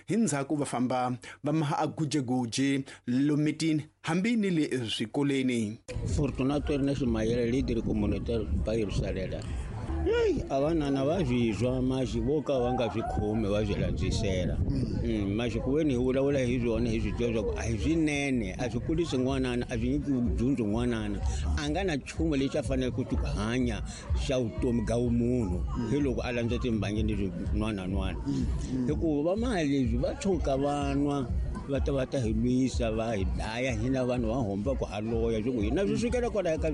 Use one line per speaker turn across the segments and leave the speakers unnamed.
Hi ndzhaku va famba va maha a gujeguji lomitini hambi ni le swikolweni.
Fortunato Ernest Mayele, leader communautaire ba Yerusalema. Hey, a vanana va swi twa maxi vo ka va nga swi khomi va swi landzisela. Maxi ku veni hi vulavula hi swona hi swi tiva swa ku a hi swinene, a swi kurisi n'wanana, a swi nyiki dyondzo n'wanana. A nga na nchumu lexi a faneleke ku hanya xa vutomi bya vumunhu hi loko a landza timbangi ni swin'wanan'wana. Hikuva va mali leswi va tshuka va nwa va ta va ta hi lwisa va hi dlaya hina vanhu va homba ku haloya swi ku hina swi sukela kwalaya ka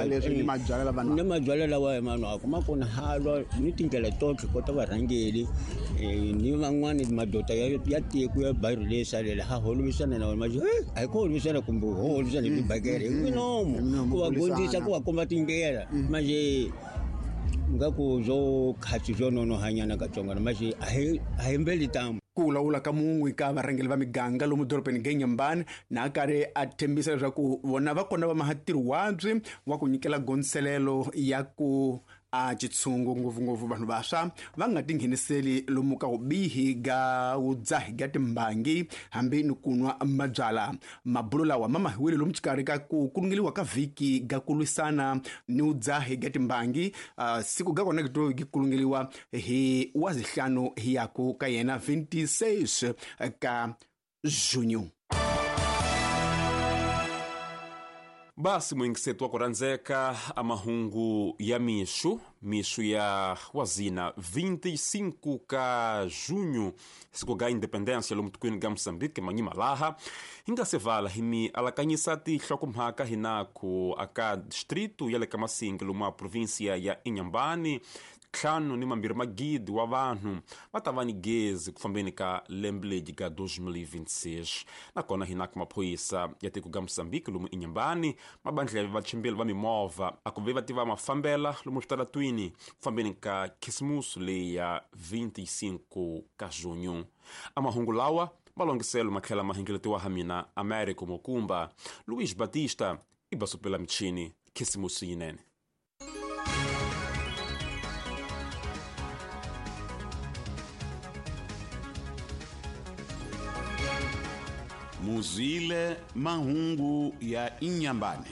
leswi ni mabyalwa lava
ni mabyalwa lawa hi manwaka ma kona halwa ni tindlela totlhe kota varhangeli ni van'wani madoda ya tiko ya bayiro leyi salela ha holovisana na wona ma a hi ku holovisana kumbe ho holovisana hi tibakele hi minomo ku va gondzisa ku va komba tindlela manje nga ku byo khatsi byo nonohanyana katsongwana manje a hi mbeli tamu.
Ku vulavula ka mun'we ka varhangeri va miganga lomu dorobeni Genyambani na karhi a tshembisa leswaku vona va kona va maha ntirho wabyi wa ku nyikela gondzelelo ya ku a xitshungu ngopfungopfu vanhu vantshwa va nga tingheniseli lomu ka vubihi ga vudzahi ga timbangi hambi ni ku nwa mabyala. Mabulo lawa ma mahiwile lomu xikarhi ka ku kulungeliwa ka vhiki ga ku lwisana ni vudzahi ga timbangi. Siku ga kona to gi kulungeliwa hi wazihlanu hi yaku ka yena 26 ka junho.
Basi mwingisetu wa kuranzeka amahungu ya mixo, mixo ya wazina 25 ka junho, siku ga independência lomu tikweni ga Moçambique manyima laha hinga sevala himi alakanyisa tihlokomhaka hinaku aka distrito ya le ka Masingi lomu a província ya Inhambane 5 magidi wa vanhu va ta va ni gezi ku fambeni ka lembe leri ka 2026. Nakona hinaka maphorisa ya tiko ga Moçambique lomu Inhambane mabandla ya vachimbeli va mimovha a ku ve va tiva mafambela lomu switaratwini ku fambeni ka Khisimusi leyi ya 25 ka junho. Amahungu lawa malongiselo matlhela mahengeletiwa ha mina Américo Mokumba, Luiz Batista i basupela michini. Khisimusi yinene.
Muzile mahungu ya Inhambane.